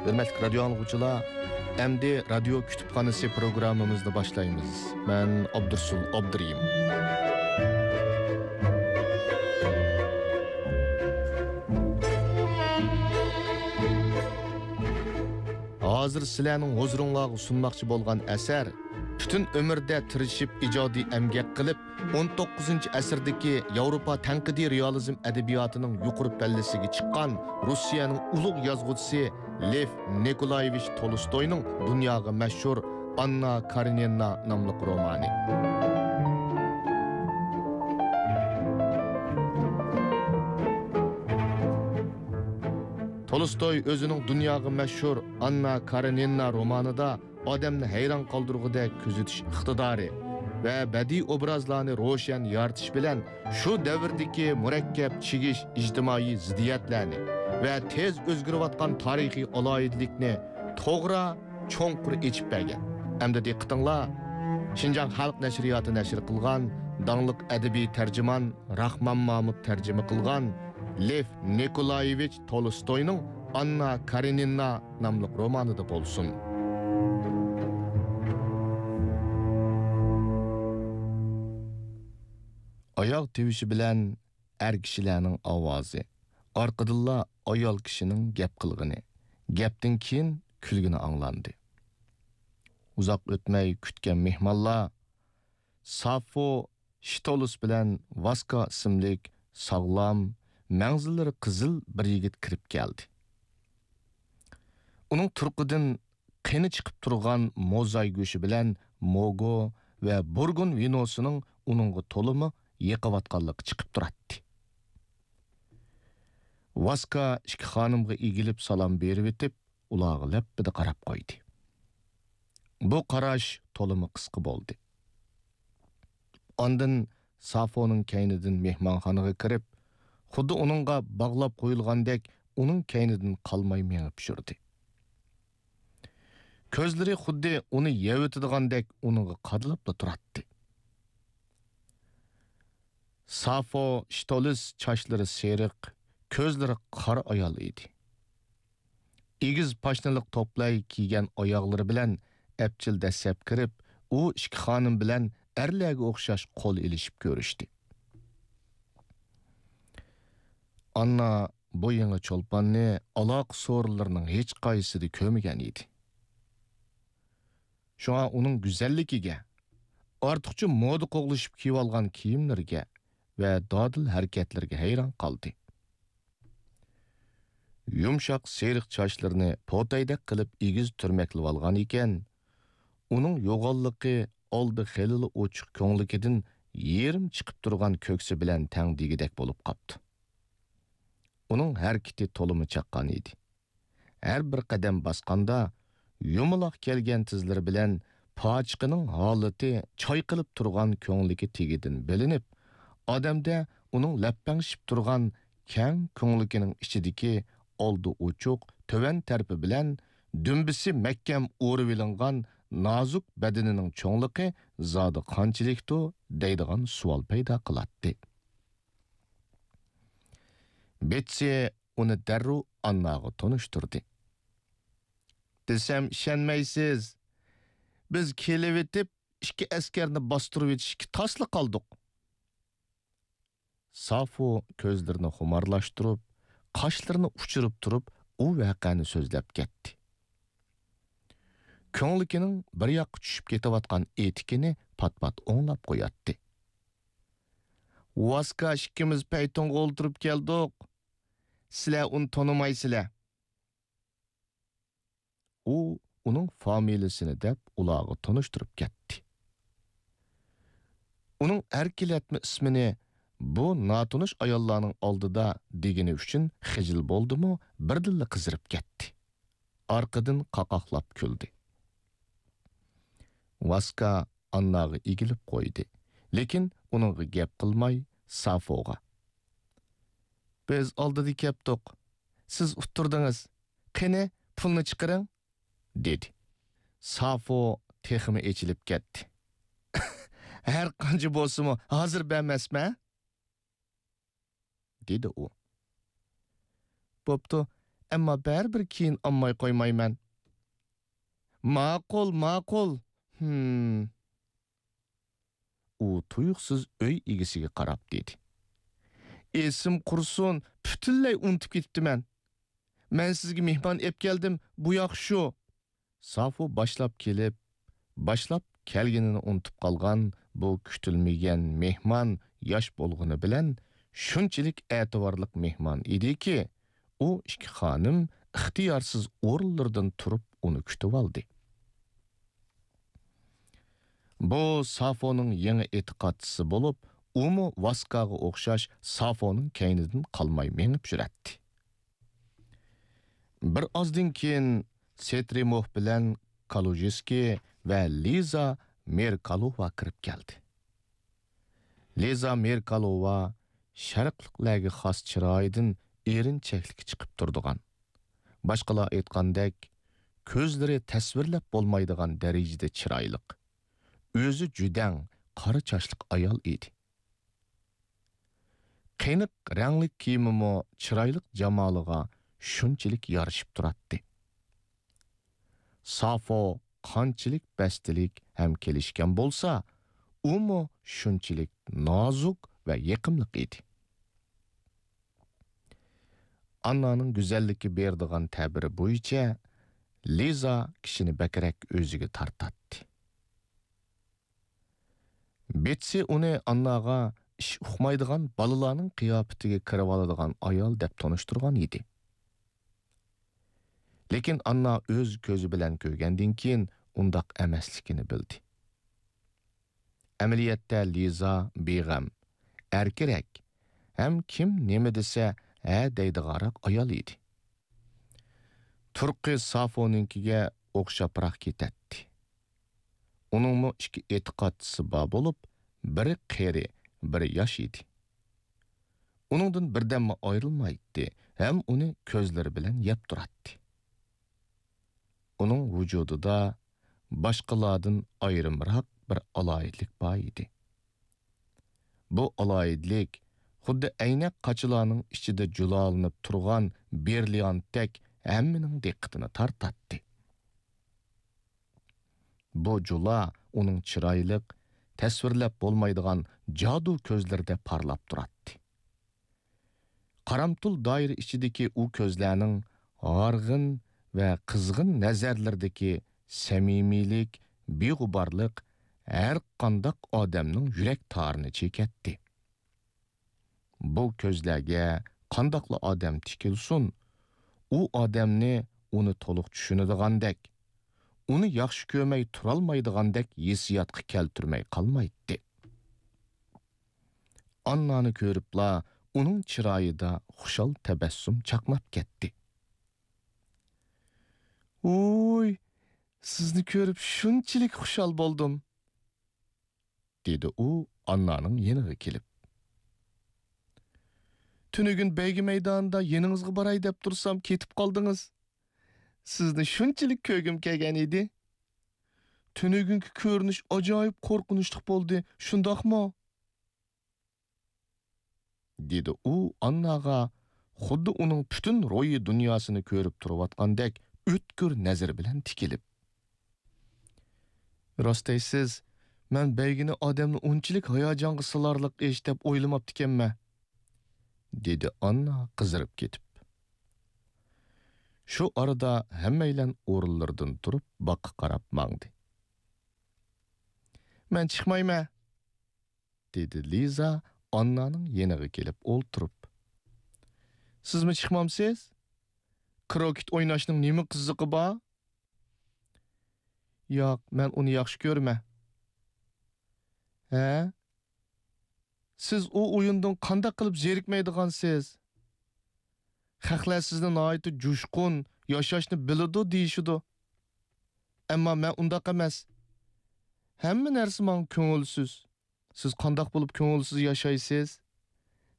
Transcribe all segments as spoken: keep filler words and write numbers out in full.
ھۆرمەتلىك رادىيو ئاڭلىغۇچىلار، ئەمدى رادىيو كۇتۇپخانىسى پروگراممىمىزنى باشلايمىز. مەن ئابدۇرسۇل ئابدۇرېھىم. ھازىر سىلەرنىڭ ھۇزۇرۇڭلارغا سۇنماقچى بولغان ئەسەر پۈتۈن ئۆمرىدە تىرىشىپ ئىجادىي ئەمگەك قىلىپ، ئون توققۇزىنچى ئەسىردىكى ياۋروپا تەنقىدىي رېئالىزم ئەدەبىياتىنىڭ يۇقىرى پەللىسىگە چىققان روسىيەنىڭ ئۇلۇغ يازغۇچىسى لېف نىكولايېۋىچ تولستوينىڭ دۇنياغا مەشھۇر ئاننا كارېنىنا ناملىق رومانى. تولستوي ئۆزىنىڭ دۇنياغا مەشھۇر ئاننا كارېنىنا رومانىدا ئادەمنى ھەيران قالدۇرغۇدەك كۆزىتىش ئىقتىدارى ۋە بەدىئىي ئوبرازلارنى روشەن يارىتىش بىلەن شۇ دەۋردىكى مۇرەككەپ چىگىش ئىجتىمائىي زىددىيەتلەرنى ۋە تېز ئۆزگىرىۋاتقان تارىخىي ئالاھىدىلىكنى توغرا، چوڭقۇر ئېچىپ بەرگەن. ئەمدى دىققىتىڭلار شىنجاڭ خەلق نەشرىياتى نەشر قىلغان داڭلىق ئەدەبىي تەرجىمان راخمان مامۇت تەرجىمە قىلغان لېف نىكولايېۋىچ تولستوينىڭ ئاننا كارېنىنا ناملىق رومانىدا بولسۇن. ئاياغ تىۋىشى بىلەن ئەر كىشىلەرنىڭ ئاۋازى، ئارقىدىنلا ئايال كىشىنىڭ گەپ قىلغىنى، گەپتىن كېيىن كۈلگىنى ئاڭلاندى. ئۇزاق ئۆتمەي كۈتكەن مېھمانلار سافو شتولس بىلەن ۋاسكا ئىسىملىك ساغلام، مەڭزىلىرى قىزىل بىر يىگىت كىرىپ كەلدى. ئۇنىڭ تۇرقىدىن قېنى چىقىپ تۇرغان موزاي گۆشى بىلەن موگو ۋە بۇرگۇن ۋىنوسىنىڭ ئۇنىڭغا تولىمۇ يېقىۋاتقانلىقى چىقىپ تۇراتتى. ۋاسكا ئىككى خانىمغا ئېگىلىپ سالام بېرىۋېتىپ، ئۇلارغا لەپپىدە قاراپ قويدى. بۇ قاراش تولىمۇ قىسقا بولدى. ئاندىن سافونىڭ كەينىدىن مېھمانخانىغا كىرىپ، خۇددى ئۇنىڭغا باغلاپ قويۇلغاندەك ئۇنىڭ كەينىدىن قالماي مېڭىپ يۈردى. كۆزلىرى خۇددى ئۇنى يەۋېتىدىغاندەك ئۇنىڭغا قادىلاپلا تۇراتتى. سافو شتولىس چاچلىرى سېرىق، كۆزلىرى قارا ئايال ئىدى. ئېگىز پاشنىلىق توپلاي كىيگەن ئاياغلىرى بىلەن ئەپچىل دەسسەپ كىرىپ، ئۇ ئىككى خانىم بىلەن ئەرلەرگە ئوخشاش قول ئېلىشىپ كۆرۈشتى. ئاننا بۇ يېڭى چولپاننى ئالاقە سورۇنلىرىنىڭ ھېچقايسىسىدا كۆرمىگەن ئىدى. شۇڭا ئۇنىڭ گۈزەللىكىگە، ئارتۇقچە مودا قوغلىشىپ كىيىۋالغان كىيىملىرىگە ۋە دادىل ھەرىكەتلىرىگە ھەيران قالدى. يۇمشاق سېرىق چاچلىرىنى پوتايدەك قىلىپ ئېگىز تۈرمەكلىۋالغان ئىكەن، ئۇنىڭ يوغانلىقى ئالدى خېلىلا ئوچۇق كۆڭلىكىدىن يېرىم چىقىپ تۇرغان كۆكسى بىلەن تەڭ دېگۈدەك بولۇپ قاپتۇ. ئۇنىڭ ھەرىكىتى تولىمۇ چاققان ئىدى. ھەر بىر قەدەم باسقاندا، يۇمىلاق كەلگەن تىزلىرى بىلەن پاچىقىنىڭ ھالىتى چايقىلىپ تۇرغان كۆڭلىكى تېگىدىن بىلىنىپ، ئادەمدە ئۇنىڭ لەپپەڭشىپ تۇرغان كەڭ كۆڭلىكىنىڭ ئىچىدىكى ئالدى ئوچۇق، تۆۋەن تەرىپى بىلەن دۈمبىسى مەھكەم ئورىۋېلىنغان نازۇك بەدىنىنىڭ چوڭلۇقى زادى قانچىلىكتۇ دەيدىغان سوئال پەيدا قىلاتتى. بېتسى ئۇنى دەررۇ ئانناغا تونۇشتۇردى. دېسەم ئىشەنمەيسىز. بىز كېلىۋېتىپ، ئىككى ئەسكەرنى باستۇرۇۋېتىشكە تاسلا قالدۇق. سافو كۆزلىرىنى خۇمارلاشتۇرۇپ، قاشلىرىنى ئۇچۇرۇپ تۇرۇپ، ئۇ ۋەقەنى سۆزلەپ كەتتى. كۆڭلىكىنىڭ بىر ياققا چۈشۈپ كېتىۋاتقان ئېتىكىنى پات-پات ئوڭلاپ قوياتتى. ۋاسكا ئىككىمىز پەيتۇنغا ئولتۇرۇپ كەلدۇق. سىلەر ئۇنى تونۇمايسىلەر. ئۇ ئۇنىڭ فامىلىسىنى دەپ ئۇلارغا تونۇشتۇرۇپ كەتتى. ئۇنىڭ ئەركىلەتمە ئىسمىنى بۇ ناتونۇش ئاياللارنىڭ ئالدىدا دېگىنى ئۈچۈن خىجىل بولدىمۇ، بىردىنلا قىزىرىپ كەتتى. ئارقىدىن قاقاقلاپ كۈلدى. ۋاسكا ئانناغا ئېگىلىپ قويدى، لېكىن ئۇنىڭغا گەپ قىلماي، سافوغا: «بىز ئالدىدا كەپتۇق. سىز ئۇتتۇردىڭىز. قېنى، پۇلنى چىقىرىڭ!» دېدى. سافو تېخىمۇ ئېچىلىپ كەتتى. «ھەر قانچە بولسىمۇ، ھازىر بەرمەسمەن!» دېدى ئۇ. «بوپتۇ، ئەمما بەرىبىر كېيىن ئالماي قويمايمەن. ماقۇل، ماقۇل. ھىم. ئۇ تۇيۇقسىز ئۆي ئىگىسىگە قاراپ دېدى. ئېسىم قۇرسۇن، پۈتۈنلەي ئۇنتۇپ كېتىپتىمەن. مەن سىزگە مېھمان ئېپ كەلدىم، بۇ ياق شۇ. سافو باشلاپ كېلىپ، باشلاپ كەلگىنىنى ئۇنتۇپ قالغان بۇ كۈتۈلمىگەن مېھمان ياش بولغىنى بىلەن شۇنچىلىك ئەتىۋارلىق مېھمان ئىدىكى، ئۇ ئىككى خانىم ئىختىيارسىز ئورۇنلىرىدىن تۇرۇپ ئۇنى كۈتۈۋالدى. بۇ سافونىڭ يېڭى ئېتىقادچىسى بولۇپ، ئۇمۇ ۋاسكاغا ئوخشاش سافونىڭ كەينىدىن قالماي مېڭىپ يۈرەتتى. بىر ئازدىن كېيىن سېترىموف بىلەن كالۇژىسكىي ۋە لىزا مېركالوۋا كىرىپ كەلدى. لىزا مېركالوۋا شەرقلىقلەرگە خاس چىرايىدىن ئېرىنچەكلىكى چىقىپ تۇرىدىغان، باشقىلار ئېيتقاندەك، كۆزلىرى تەسۋىرلەپ بولمايدىغان دەرىجىدە چىرايلىق، ئۆزى جۈدەڭ، قارا چاچلىق ئايال ئىدى. قېنىق رەڭلىك كىيىمىمۇ چىرايلىق جامالىغا شۇنچىلىك يارىشىپ تۇراتتى. سافو قانچىلىك بەستلىك ھەم كېلىشكەن بولسا، ئۇمۇ شۇنچىلىك نازۇك ۋە يېقىملىق ئىدى. ئاننانىڭ گۈزەللىككە بېرىدىغان تەبىرى بويىچە لىزا كىشىنى بەكرەك ئۆزىگە تارتاتتى. بېتسى ئۇنى ئانناغا ئىش ئۇقمايدىغان بالىلارنىڭ قىياپىتىگە كىرىۋالىدىغان ئايال دەپ تونۇشتۇرغان ئىدى. لېكىن ئاننا ئۆز كۆزى بىلەن كۆرگەندىن كېيىن ئۇنداق ئەمەسلىكىنى بىلدى. ئەمەلىيەتتە لىزا بىغەم، ئەركىرەك ھەم كىم نېمە دېسە ھە دەيدىغانراق ئايال ئىدى. تۇرقى سافونىڭكىگە ئوخشاپراق كېتەتتى. ئۇنىڭمۇ ئىككى ئېتىقادچىسى بار بولۇپ، بىرى قېرى، بىرى ياش ئىدى. ئۇنىڭدىن بىردەممۇ ئايرىلمايتتى ھەم ئۇنى كۆزلىرى بىلەن يەپ تۇراتتى. ئۇنىڭ ۋۇجۇدىدا باشقىلاردىن ئايرىمراق بىر ئالاھىدىلىك بار ئىدى. بۇ ئالاھىدىلىك خۇددى ئەينەك قاچىلارنىڭ ئىچىدە جۇلالىنىپ تۇرغان برىليانتتەك ھەممىنىڭ دىققىتىنى تارتاتتى. بۇ جۇلا ئۇنىڭ چىرايلىق، تەسۋىرلەپ بولمايدىغان جادۇ كۆزلىرىدە پارلاپ تۇراتتى. قارامتۇل دائىرە ئىچىدىكى ئۇ كۆزلەرنىڭ ھارغىن ۋە قىزغىن نەزەرلىرىدىكى سەمىمىيلىك، بىغۇبارلىق ھەر قانداق ئادەمنىڭ يۈرەك تارىنى چېكەتتى. بۇ كۆزلەرگە قانداقلا ئادەم تىكىلسۇن، ئۇ ئادەمنى ئۇنى تولۇق چۈشىنىدىغاندەك، ئۇنى ياخشى كۆرمەي تۇرالمايدىغاندەك ھېسسىياتقا كەلتۈرمەي قالمايتتى. ئاننانى كۆرۈپلا ئۇنىڭ چىرايىدا خۇشال تەبەسسۇم چاقناپ كەتتى. ۋوي، سىزنى كۆرۈپ شۇنچىلىك خۇشال بولدۇم، دېدى ئۇ ئاننانىڭ يېنىغا كېلىپ. تۈنۈگۈن بەيگە مەيدانىدا يېنىڭىزغا باراي دەپ تۇرسام، كېتىپ قالدىڭىز. سىزنى شۇنچىلىك كۆرگۈم كەلگەن ئىدى. تۈنۈگۈنكى كۆرۈنۈش ئاجايىپ قورقۇنچلۇق بولدى، شۇنداقمۇ؟ دېدى ئۇ ئانناغا خۇددى ئۇنىڭ پۈتۈن روھىي دۇنياسىنى كۆرۈپ تۇرۇۋاتقاندەك ئۆتكۈر نەزىرى بىلەن تىكىلىپ. راست دەيسىز، مەن بەيگىنى ئادەمنى ئۇنچىلىك ھاياجانغا سالارلىق ئىش دەپ ئويلىماپتىكەنمەن، دېدى ئاننا قىزىرىپ كېتىپ. شۇ ئارىدا ھەممەيلەن ئورۇنلىرىدىن تۇرۇپ باغقا قاراپ ماڭدى. مەن چىقمايمەن، دېدى لىزا ئاننانىڭ يېنىغا كېلىپ ئولتۇرۇپ. سىزمۇ چىقمامسىز؟ كروكېت ئويناشنىڭ نېمە قىزىقى بار؟ ياق، مەن ئۇنى ياخشى كۆرىمەن. ھە؟ سىز ئۇ ئويۇندىن قانداق قىلىپ زېرىكمەيدىغانسىز؟ خەقلەر سىزنى ناھايىتى جۇشقۇن، ياشاشنى بىلىدۇ دېيىشىدۇ. ئەمما مەن ئۇنداق ئەمەس. ھەممە نەرسە ماڭا كۆڭۈلسىز. سىز قانداق بولۇپ كۆڭۈلسىز ياشايسىز؟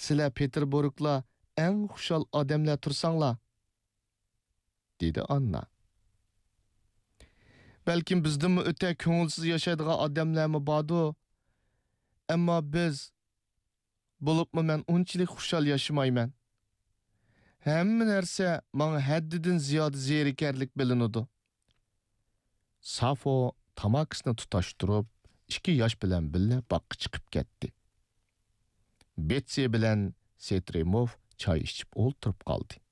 سىلەر پېتېربۇرگلا ئەڭ خۇشال ئادەملەر تۇرساڭلار، دېدى ئاننا. بەلكىم بىزدىنمۇ ئۆتە كۆڭۈلسىز ياشايدىغان ئادەملەرمۇ باردۇ. ئەمما بىز، بولۇپمۇ مەن ئۇنچىلىك خۇشال ياشىمايمەن. ھەممە نەرسە ماڭا ھەددىدىن زىيادە زېرىكەرلىك بىلىنىدۇ. سافو تاماكىسىنى تۇتاشتۇرۇپ، ئىككى ياش بىلەن بىللە باغقا چىقىپ كەتتى. بېتسى بىلەن سېترىموف چاي ئىچىپ ئولتۇرۇپ قالدى.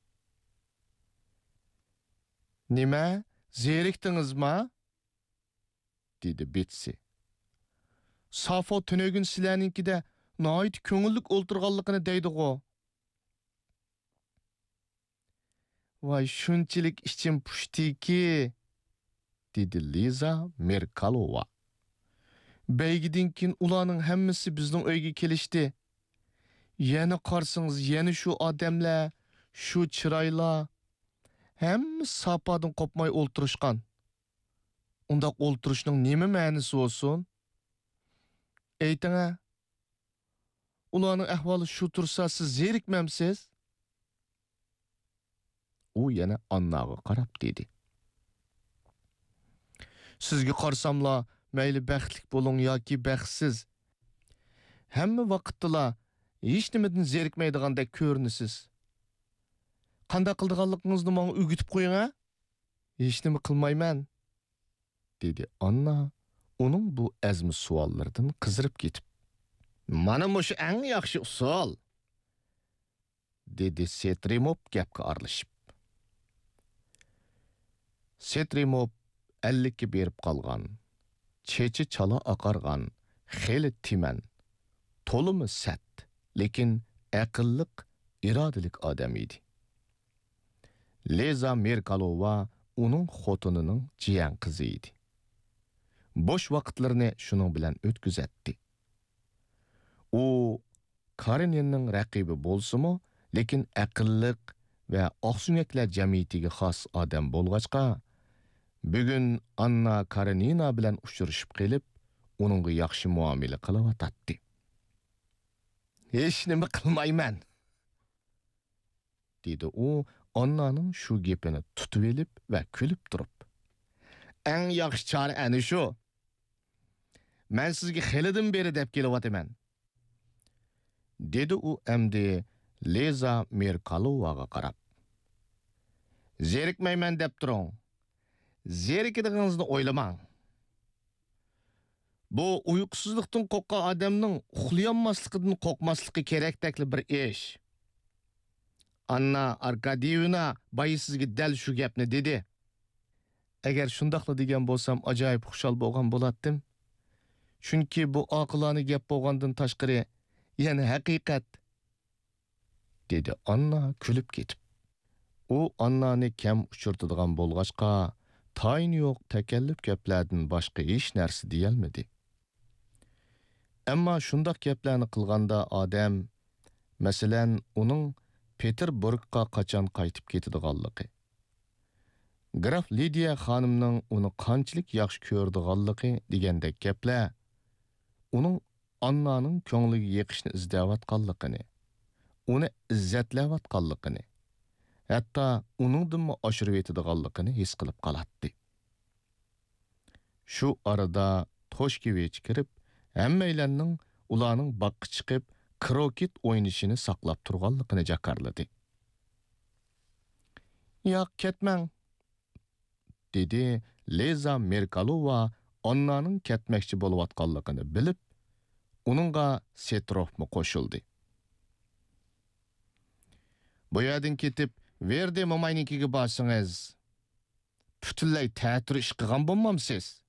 نېمە، زېرىكتىڭىزما؟ دېدى بېتسى. سافو تۈنۈگۈن سىلەرنىڭكىدە ناھايىتى كۆڭۈللۈك ئولتۇرغانلىقىنى دەيدىغۇ. ۋاي، شۇنچىلىك ئىچىم پۇشتىكى، دېدى لىزا مېركالوۋا. بەيگىدىن كېيىن ئۇلارنىڭ ھەممىسى بىزنىڭ ئۆيگە كېلىشتى. يەنە قارىسىڭىز، يەنە شۇ ئادەملەر، شۇ چىرايلار، ھەممىسى ساپادىن قوپماي ئولتۇرۇشقان. ئۇنداق ئولتۇرۇشنىڭ نېمە مەنىسى بولسۇن؟ ئېيتىڭە، ئۇلارنىڭ ئەھۋالى شۇ تۇرسا، سىز زېرىكمەمسىز؟ ئۇ يەنە ئانناغا قاراپ دېدى. سىزگە قارىساملا، مەيلى بەختلىك بولۇڭ ياكى بەختسىز، ھەممە ۋاقىتتىلا ھېچنېمىدىن زېرىكمەيدىغاندەك كۆرۈنىسىز. قانداق قىلىدىغانلىقىڭىزنى ماڭا ئۆگىتىپ قويۇڭ ھە؟ ھېچنېمە قىلمايمەن، دېدى ئاننا ئۇنىڭ بۇ ئەزمە سوئاللىرىدىن قىزىرىپ كېتىپ. مانا مۇشۇ ئەڭ ياخشى ئۇسۇل، دېدى سېترىموپ گەپكە ئارىلىشىپ. سېترىموپ ئەللىككە بېرىپ قالغان، چېچى چالا ئاقارغان، خېلى تىمەن، تولىمۇ سەت، لېكىن ئەقىللىق، ئىرادىلىك ئادەم ئىدى. لىزا مېركالوۋا ئۇنىڭ خوتۇنىنىڭ جىيەن قىزى ئىدى. بوش ۋاقىتلىرىنى شۇنىڭ بىلەن ئۆتكۈزەتتى. ئۇ كارېنىننىڭ رەقىبى بولسىمۇ، لېكىن ئەقىللىق ۋە ئاقسۆڭەكلەر جەمئىيىتىگە خاس ئادەم بولغاچقا، بۈگۈن ئاننا كارېنىنا بىلەن ئۇچرىشىپ قېلىپ، ئۇنىڭغا ياخشى مۇئامىلە قىلىۋاتاتتى. ھېچنېمە قىلمايمەن، دېدى ئۇ ئاننانىڭ شۇ گېپىنى تۇتۇۋېلىپ ۋە كۈلۈپ تۇرۇپ. ئەڭ ياخشى چارە ئەنە شۇ. مەن سىزگە خېلىدىن بېرى دەپ كېلىۋاتىمەن، دېدى ئۇ ئەمدى لىزا مېركالوۋاغا قاراپ. زېرىكمەيمەن دەپ تۇرۇڭ. زېرىكىدىغىنىڭىزنى ئويلىماڭ. بۇ ئۇيقۇسىزلىقتىن قورققان ئادەمنىڭ ئۇخلىيالماسلىقىدىن قورقماسلىقى كېرەكتەكلا بىر ئىش. ئاننا ئاركادىيېۋنا بايا سىزگە دەل شۇ گەپنى دېدى. ئەگەر شۇنداقلا دېگەن بولسام، ئاجايىپ خۇشال بولغان بولاتتىم. چۈنكى بۇ ئاقىلانە گەپ بولغاندىن تاشقىرى، يەنە ھەقىقەت. دېدى ئاننا كۈلۈپ كېتىپ. ئۇ ئاننانى كەم ئۇچرىتىدىغان بولغاچقا، تايىنى يوق تەكەللۇپ گەپلەردىن باشقا ھېچ نەرسە دېيەلمىدى. ئەمما شۇنداق گەپلەرنى قىلغاندا ئادەم، مەسىلەن، ئۇنىڭ پېتېربۇرگقا قاچان قايتىپ كېتىدىغانلىقى، گراف لىدىيە خانىمنىڭ ئۇنى قانچىلىك ياخشى كۆرىدىغانلىقى دېگەندەك گەپلەر ئۇنىڭ ئاننانىڭ كۆڭلىگە يېقىشنى ئىزدەۋاتقانلىقىنى، ئۇنى ئىززەتلەۋاتقانلىقىنى، ھەتتا ئۇنىڭدىنمۇ ئاشۇرۇۋېتىدىغانلىقىنى ھېس قىلىپ قالاتتى. شۇ ئارىدا توشكېۋىچ كىرىپ، ھەممەيلەننىڭ ئۇلارنىڭ باغقا چىقىپ، كروكېت ئوينىشىنى ساقلاپ تۇرغانلىقىنى جاكارلىدى. ياق، كەتمەڭ، دېدى لىزا مېركالوۋا ئاننانىڭ كەتمەكچى بولۇۋاتقانلىقىنى بىلىپ، ئۇنىڭغا سېتروفمۇ قوشۇلدى. بۇ يەردىن كېتىپ، ۋېردى موماينىڭكىگە بارسىڭىز، پۈتۈنلەي تەتۈر ئىش قىلغان بولمامسىز؟